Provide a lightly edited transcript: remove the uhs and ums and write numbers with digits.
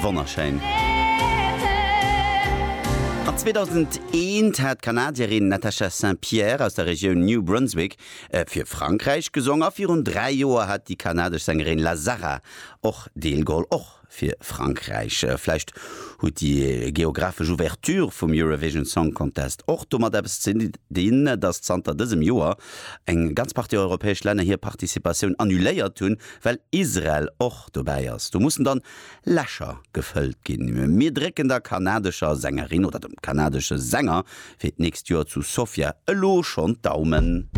Wonnerschéin. An 2001 hat d'Kanadierin Natasha St-Pierre aus der Regioun New Brunswick fir Frankräich gesong a virun 3 Joer hat déi kanadesch Sängerin La Zarra och deelgeholl, och fir Frankräich. Vläicht huet déi geographesch Ouverture vum Eurovision Song Contest och domat eppes ze dinn, datt zanter dësem Joer eng ganz Partie europäesch Länner hir Participatioun annuléiert hunn, well Israel och dobäi ass. Do mussen dann Lächer gefëllt ginn. Mir drécken der kanadescher Sängerin oder dem kanadesche Sänger fir d'nächst Joer zu Sofia elo schonn d'Daumen.